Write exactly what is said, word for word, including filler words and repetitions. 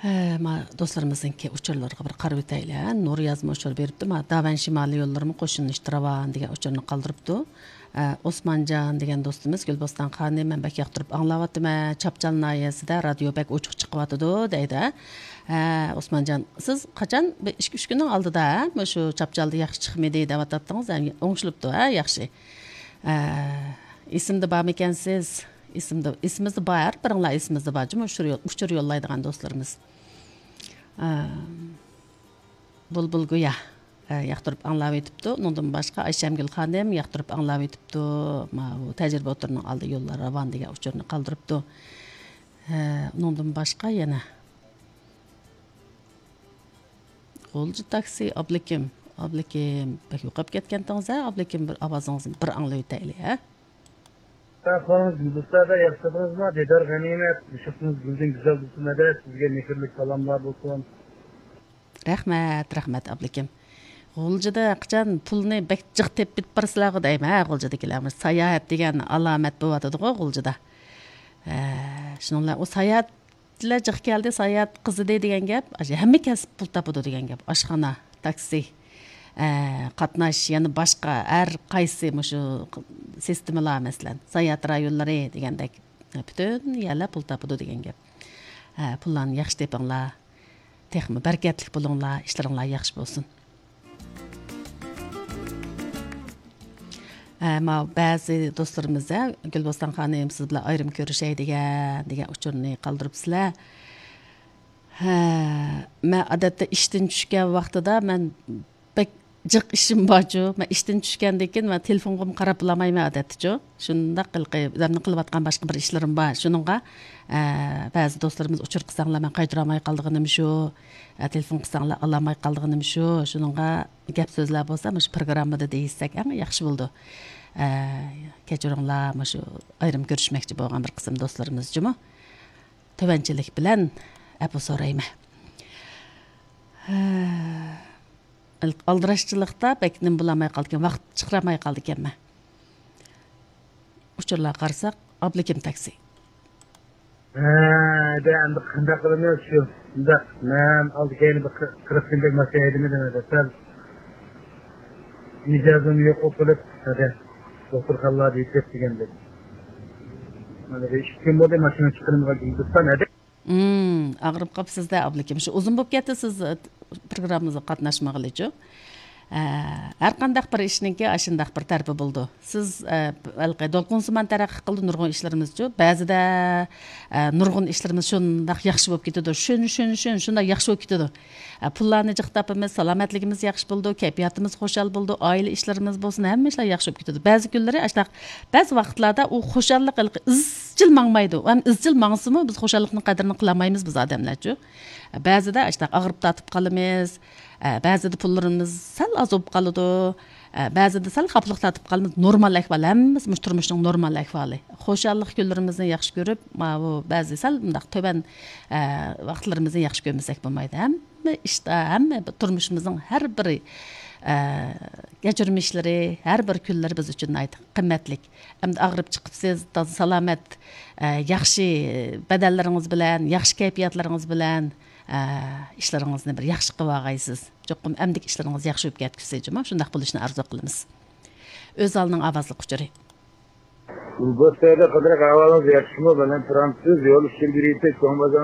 ھە، ما دوستلىرىمىزنىڭكى ئۇچۇرلىرىغا بىر قارىۋېتەيلى. نۇريازمۇ ئۇچۇر بېرىپتۇ. ما داۋەن شىمالىي يوللىرىمۇ قوشۇلۇشتا راۋان دېگەن ئۇچۇرنى قالدۇرۇپتۇ. ھە، ئوسمانجان دېگەن دوستىمىز، گۈلبوستان خانىم، مەن بەك ياقتۇرۇپ ئاڭلاۋاتىمەن. چاپچال ناھىيەسىدە رادىيو بەك ئوچۇق چىقىۋاتىدۇ دەيدۇ. ھە، ئوسمانجان، سىز قاچان؟ بىر ئىككى، ئۈچ كۈننىڭ ئالدىدا، ھە، مۇشۇ چاپچالدا ياخشى چىقمىدى دەۋاتاتتىڭىز. ھە، ئوڭشىلىپتۇ، ھە، ياخشى. ھە، ئېسىمدە بارمىكەنسىز؟ ئېسىمدە، ئېسىمىزدە بار، بىرىڭلار ئېسىمىزدە بار جۇمۇ، ئۇچۇر يول-، ئۇچۇر يوللايدىغان دوستلىرىمىز. ئە، بۇلبۇل گويا، ئە، ياقتۇرۇپ ئاڭلاۋېتىپتۇ. ئۇنىڭدىن باشقا ئايشەمگۈل خانىم ياقتۇرۇپ ئاڭلاۋېتىپتۇ. ماۋۇ تەجرىبە ئوتتۇرىنىڭ ئالدى يوللار راۋان دېگەن ئۇچۇرنى قالدۇرۇپتۇ. ھە، ئۇنىڭدىن باشقا يەنە غۇلجا تاكسى، ئابلىكىم. ئابلىكىم، بەك يوقاپ كەتكەنتىڭىز ھە، ئابلىكىم، بىر ئاۋازىڭىزنى بىر ئاڭلىۋېتەيلى ھە. ئەھۋالىڭىز گۈلدۈستادا ياخشىدىڭىزمۇ؟ دىدار غەنىيمەت، مۇشۇقىڭىز گۈلدىن گۈزەل بولسۇن ھەدە، سىزگە مېھىرلىك سالاملار بولسۇن. رەھمەت، رەھمەت، ئابلىكىم. غۇلجىدا قاچان پۇلنى بەك جىق تېپىپ بارسىلەرغۇ دەيمەن، ھە، غۇلجىدىكىلەر. ساياھەت دېگەن ئالامەت بولۇۋاتىدىغۇ غۇلجىدا. ھە، شۇنىڭ بىلەن ئۇ ساياھەتلەر جىق كەلدى، ساياھەت قىزىدى دېگەن گەپ، ھەممە كەسىپ پۇل تاپىدۇ دېگەن گەپ. ئاشخانا، تاكسى، ئە، قاتناش، يەنە باشقا ھەر قايسى مۇشۇ سىستېمىلار، مەسىلەن، ساياھەت رايونلىرى دېگەندەك، پۈتۈن يەرلەر پۇل تاپىدۇ دېگەن گەپ. ھە، پۇللارنى ياخشى تېپىڭلار. تېخىمۇ بەرىكەتلىك بولۇڭلار، ئىشلىرىڭلار ياخشى بولسۇن. ھە، ماۋۇ بەزى دوستلىرىمىز، ھە، گۈلبوستان خانىم، سىز بىلەن ئايرىم كۆرۈشەي دېگەن، دېگەن ئۇچۇرنى قالدۇرۇپسىلەر. ھە، مەن ئادەتتە ئىشتىن چۈشكەن ۋاقتىدا مەن بەك جىق ئىشىم بارچۇ. مەن ئىشتىن چۈشكەندىن كېيىن مەن تېلېفونغىمۇ قاراپ بولالمايمەن ئادەتتىچۇ. شۇنداق ھېلىقى ئۆزۈمنىڭ قىلىۋاتقان باشقا بىر ئىشلىرىم بار. شۇنىڭغا، ئە، بەزى دوستلىرىمىز ئۇچۇر قىلساڭلار مەن قايتۇرالماي قالىدىغىنىم شۇ. ئە، تېلېفون قىلساڭلار ئالالماي قالىدىغىنىم شۇ. شۇنىڭغا گەپ سۆزلەر بولسا مۇشۇ پروگراممىدا دېيىشسەك ئەڭ ياخشى بولىدۇ. ئە، كەچۈرۈڭلار، مۇشۇ ئايرىم كۆرۈشمەكچى بولغان بىر قىسىم دوستلىرىمىز جۇمۇ. تۆۋەنچىلىك بىلەن ئەپۇ سورايمەن. ھە، ئالدىراشچىلىقتا بەك نېمە بولالماي قالىدىكەن، ۋاقىت چىقىرالماي قالىدىكەنمەن. ئۇچۇرلارغا قارىساق، ئابلىكىم تاكسى. ھە، دە، ئەمدى قانداق قىلىمىز شۇ؟ شۇنداق، مەن ئالدى كەينى بىر قىرىق كۈندەك ماشىنا ھەيدىمىدىم ھەدە. سەل مىجەزىم يوق بولۇپ، ھەدە، دوختۇرخانىلاردا يېتىپ دېگەندەك. مانا بىر ئىككى كۈن بولدى ماشىنا چىقىرىمغا گۈلدۈستان ھەدە. ئۇم، ئاغرىپ قاپسىز-دە، ئابلىكىم. شۇ ئۇزۇن بولۇپ كەتتى سىز، ئە، پروگراممىمىزغا قاتناشمىغىلىچۇ. ئە، ھەر قانداق بىر ئىشنىڭكى ئاشۇنداق بىر تەرىپى بولىدۇ. سىز، ئە، ھېلىقى دولقۇنسىمان تەرەققىي قىلدى نۇرغۇن ئىشلىرىمىزچۇ. بەزىدە، ئە، نۇرغۇن ئىشلىرىمىز شۇنداق ياخشى بولۇپ كېتىدۇ. شۇن، شۇن، شۇن، شۇنداق ياخشى بولۇپ كېتىدۇ. ئە، پۇللارنى جىق تاپىمىز، سالامەتلىكىمىز ياخشى بولىدۇ، كەيپىياتىمىز خۇشال بولىدۇ، ئائىلە ئىشلىرىمىز بولسۇن، ھەممە ئىشلار ياخشى بولۇپ كېتىدۇ. بەزى كۈنلىرى ئاشۇنداق، بەزى ۋاقىتلاردا ئۇ خۇشاللىق ھېلىقى ئىزچىل ماڭمايدۇ. ھەم ئىزچىل ماڭسىمۇ بىز خۇشاللىقنىڭ قەدرىنى قىلالمايمىز بىز ئادەملەرچۇ. بەزىدە ئاشۇنداق ئاغرىپ تارتىپ قالىمىز. ئە، بەزىدە پۇللىرىمىز سەل ئاز بولۇپ قالىدۇ. ئە، بەزىدە سەل خاپىلىق تارتىپ قالىمىز. نورمال ئەھۋال، ھەممىسى مۇشۇ تۇرمۇشنىڭ نورمال ئەھۋالى. خۇشاللىق كۈنلىرىمىزنى ياخشى كۆرۈپ، ماۋۇ بەزى سەل مۇنداق تۆۋەن، ئە، ۋاقىتلىرىمىزنى ياخشى كۆرمىسەك بولمايدۇ. ھەممە ئىشتا، ھەممە بىر تۇرمۇشىمىزنىڭ ھەر بىرى، ئە، كەچۈرمىشلىرى، ھەر بىر كۈنلىرى بىز ئۈچۈن ناھايىتى قىممەتلىك. ئەمدى ئاغرىپ چىقىپسىز، تازا سالامەت، ئە، ياخشى بەدەنلىرىڭىز بىلەن، ياخشى كەيپىياتلىرىڭىز بىلەن، ئە، ئىشلىرىڭىزنى بىر ياخشى قىلىۋالغايسىز. چوقۇم ئەمدىكى ئىشلىرىڭىز ياخشى بولۇپ كەتكۈسى جۇمۇ. شۇنداق بولۇشىنى ئارزۇ قىلىمىز. ئۆزئالنىڭ ئاۋازلىق ئۇچۇرى. بۇ سەيدە قىدرىق ئەھۋالىڭىز ياخشىمۇ؟ بىلەن تۇرامسىز؟ يول ئۈستىدە يۈرۈۋېتىپ، چوڭ بازار